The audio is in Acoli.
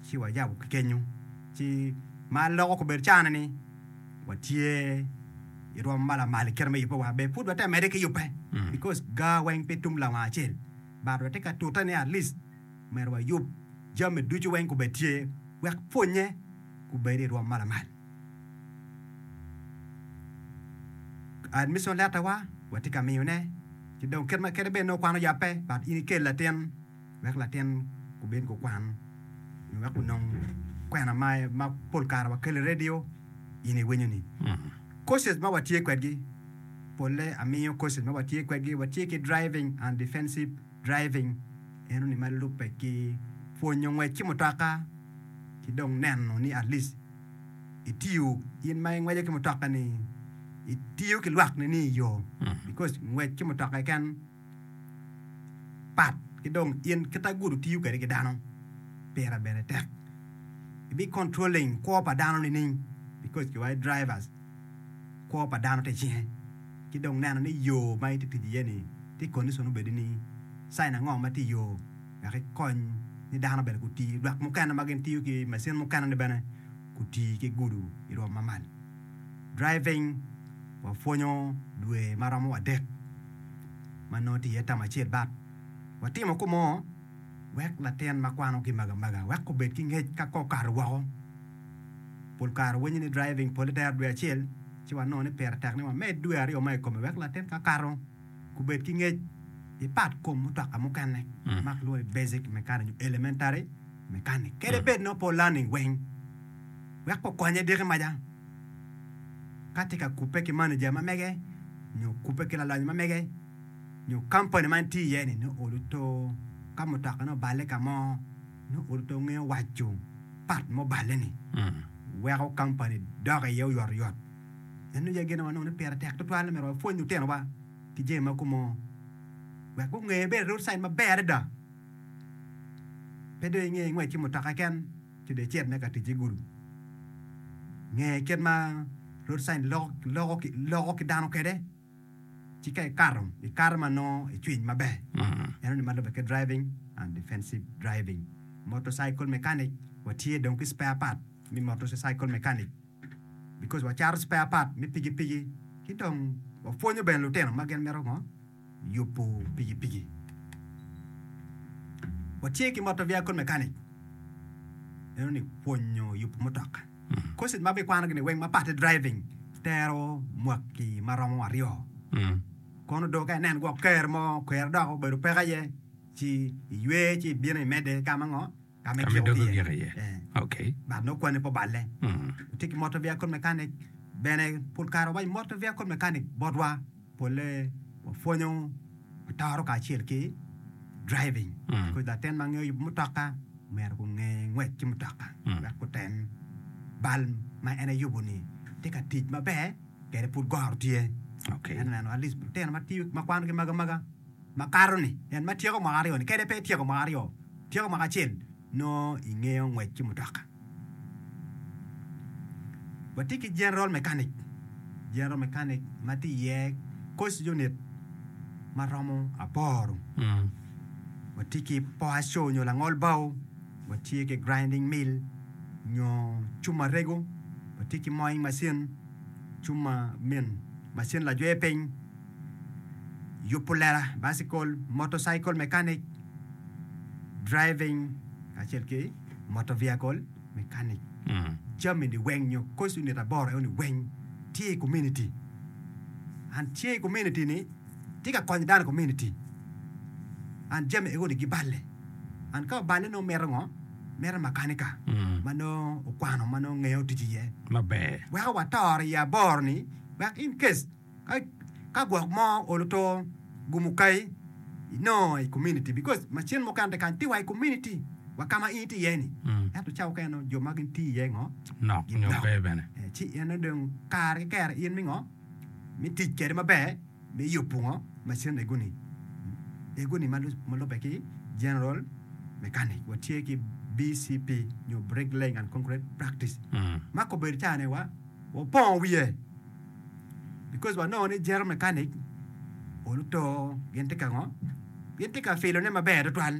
Ci wayabo ki kenyo. Ci ma loko kobedo cana ni watye i rwom ma lamal i kite me yubbe wa be pud wate mede ki yubbe because gar weng pe tum lawang acel but watye ka tute ni at least myero wayub jami ducu weng kubed tye wek pwonye kubed i rwom ma lamal. Admission letter wa watye ka miyone ki dong kit ma kadi bed nongo kwan oyabbe but in ikel latin wek latin gubed gukwan nyo wek gunong kwena ma ma pol kare wakelo i redio in iwinyo ni courses ma watye kwedgi polle amiyo courses ma watye kwedgi watye ki driving and defensive driving eno ni ma lubbe ki pwonyo ngwec ki mutoka ki dong neno ni at least itiyo in ma ingweco ki mutoka ni itiyo ki lwak ni ni iyo because ngwec ki mutoka keken pat ki dong in kit ma gudo tiyo kwede ki dano pire bene tek. Ibi controlling kwo pa dano nining because kiwaco drivers kwo pa dano tye icinge ki dong neno ni yo ma itye tic iye ni tye condition obedi ni sign ango ma tye iyo wek ikony ni dano bene guti lwak mukene ma gin tiyo ki macin mukene ni bene guti ki gudo irwom ma malo. Driving wapwonyo dwe ma romo adek. ma nongo tye iye tam acel bat. Watimo kumo wek latin ma kwano ki magamaga wek obed ki ngec ka kong okato woko. Pol kare winyo ni driving pole tero dwe acel ci wanongo ni pire tek ni wamed dwe aryo mo i kome wek latin ka kato gubed ki ngec i pat kom mutoka mukene ma kilwongo ni basic mechanic nyo elementary mechanic kadi bed nongo pe o-learning weng wek okonye diki maca. Ka tye ka kubbe ki manager ma mege nyo kubbe ki lalonyo ma mege nyo kampani ma en tiyo iye ni nongo olo to ka mutokane oballe ka mo nongo olo to ngeyo waco pat ma oballe ni weko kampani dok iye oyotoyot. Eno aye gin ma wanongo ni pire tek tutwal myero wapwony lutinowa ki jami ma kumo wek gunge bene road sign maber adada pe dong inge ngwec ki mutoka keken. ci dong icit me ka tic i gudo. Nge kit ma road sign loko ki dano kwede, ci ka ikato, ikato ma nongo icwiny maber. Enoni ma lubbe ki driving and defensive driving. Motorcycle mechanic, watye dong ki spare part me motorcycle mechanic because wacato spare part me pikipiki ki dong wapwonyo bene lutino ma gin mito ngo? yubo pikipiki. Watye ki motor vehicle mechanic, meno ni pwonyo yubo mutoka. Courses ma abikwanogi ni weng mapat ki driving tero mwaki ma romo aryo. Kono do ka inen gwok ker mo ker dok obedo peko aye ci iywe ci ibino imedde ka ma ngo ka ma Ka ma igiko idoko ki giko iye. iye. Eh. Okay. But nongo kwanni pe oballe. Watye ki motor vehicle mechanic bene pol kare wawaco motor vehicle mechanic botwa. Polle wapwonyo watoro kacel ki driving because latin ma ngeyo yubo mutoka myero gunge ngwec ki mutoka wek gutem bal ma en eyubo ni tye ka tic maber kede pud goro tye. Okay. Ento neno at least lutino ma tiyo ma kwanogi maga maga makato ni en ma tyeko mwaka aryo ni kede pe etyeko mwaka aryo tyeko mwaka acel nongo ingeyo ngwec ki mutoka. Watye ki general mechanic, general mechanic ma tye iye course unit ma romo aboro. Watye ki power saw nyo langol bao, watye ki grinding mill nyo cuma rego, watye ki mowing machine, cuma min macin lajwe piny, yubo lela, bicycle, motorcycle mechanic, driving kacel ki motor vehicle mechanic. Jami ni weng nyo course unit aboro eno ni weng tye i community and tye i community ni tye ka konyo dano i community and jami ego ni giballe and ka oballe nongo mito ngo? Mito makanika ma nongo okwano ma nongo ngeyo tic iye Maber. weko watoro i aboro ni wek in case Ka gwok mo olo to gumo kai inongo i community because macin mukene te kany tye wa i community wa ka ma in itye iye ni ento ca mukene nongo jo ma gin tiyo iye ngo Nok nyo ginok pe bene. Eh, ci en dong kare ki kere in mi ngo mi tic kwede maber me yubo ngo macin egoni egoni ma lubbe ki general mechanic watye ki BCP nyo brick laying and concrete practice ma kobedo ca ni wa wapongo wiye because wanongo ni general mechanic oluto gin tye ka ngo gin tye ka filone maber tutwal.